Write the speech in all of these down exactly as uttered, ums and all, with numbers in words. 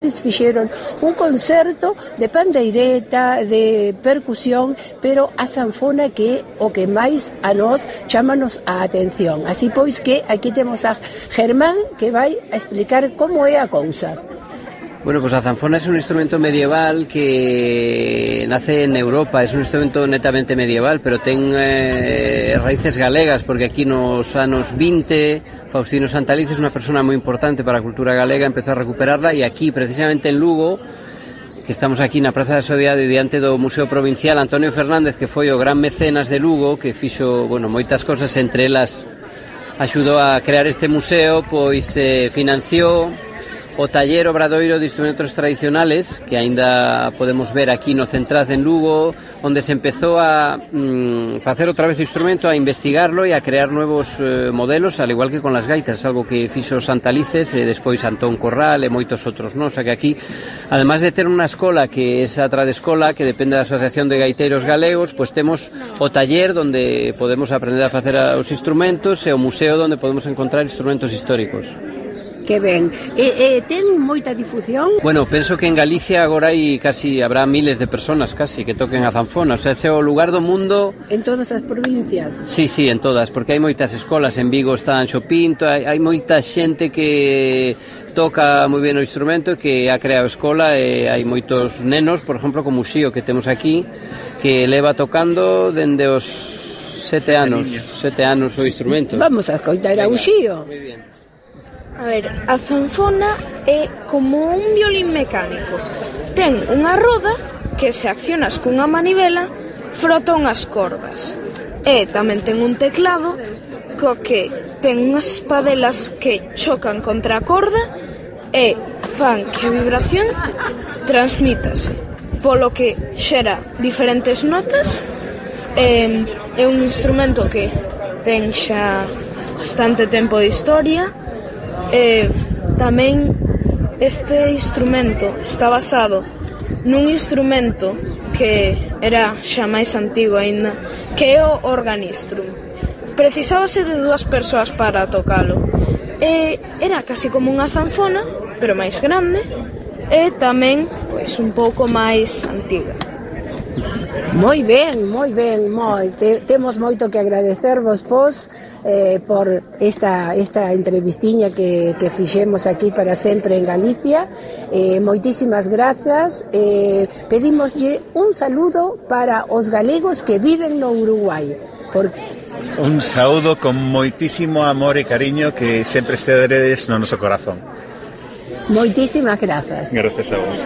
Fixeron un concerto de pandeireta, de percusión, pero a sanfona que o que máis a nós chámanos a atención. Así pois que aquí temos a Germán que vai a explicar como é a cousa. Bueno, pues a zanfona es un instrumento medieval que nace en Europa, es un instrumento netamente medieval, pero ten eh, raíces galegas, porque aquí nos anos vinte, Faustino Santaliz es una persona muy importante para a cultura galega, empezó a recuperarla, e aquí, precisamente en Lugo, que estamos aquí na Praza da Sociedade diante do Museo Provincial, Antonio Fernández, que foi o gran mecenas de Lugo, que fixo, bueno, moitas cosas, entre elas axudou a crear este museo, pois eh, financiou o taller obradoiro de instrumentos tradicionales que aínda podemos ver aquí no Centraz en Lugo, onde se empezou a mm, facer outra vez o instrumento, a investigarlo e a crear nuevos eh, modelos, al igual que con las gaitas, algo que fixo Santalices e despois Antón Corral e moitos outros, non? O sea que aquí, además de ter unha escola que é a Tradescola, que depende da Asociación de Gaiteiros Galegos, pois temos o taller onde podemos aprender a facer os instrumentos e o museo onde podemos encontrar instrumentos históricos. Que ben. E, e ten moita difusión? Bueno, penso que en Galicia agora hai casi, habrá miles de personas casi que toquen a zanfona, o sea, ese é o lugar do mundo. En todas as provincias? Sí, sí, en todas, porque hai moitas escolas, en Vigo está Anxo Pinto, hai, hai moita xente que toca moi ben o instrumento, que ha creado escola, e hai moitos nenos, por exemplo, como o Xío que temos aquí, que leva tocando dende os sete anos, sete anos o instrumento. Vamos a escoitar a Xío. Moi bien. A ver, a zanfona é como un violín mecánico. Ten unha roda que, se accionas cunha manivela, frota unhas cordas. E tamén ten un teclado co que ten unhas espadelas que chocan contra a corda e fan que a vibración transmítase, polo que xera diferentes notas. É, é un instrumento que ten xa bastante tempo de historia. E tamén este instrumento está basado nun instrumento que era xa máis antigo aínda, que é o organistrum. Precisábase de dúas persoas para tocalo. E era casi como unha zanfona, pero máis grande, e tamén pois un pouco máis antiga. Moi ben, moi ben, moi. Te, temos moito que agradecervos vos eh, por esta, esta entrevistiña que, que fixemos aquí para sempre en Galicia. Eh, moitísimas grazas. Eh, pedimoslle un saludo para os galegos que viven no Uruguai. Por... Un saúdo con moitísimo amor e cariño que sempre estedes no noso corazón. Moitísimas grazas. Gracias a vos.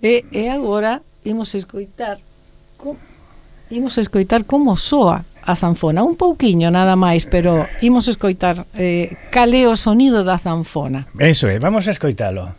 E, e agora imos escoitar co, imos escoitar como soa a zanfona, un pouquiño nada máis, pero imos escoitar eh, cal é o sonido da zanfona. Eso é, vamos a escoitalo.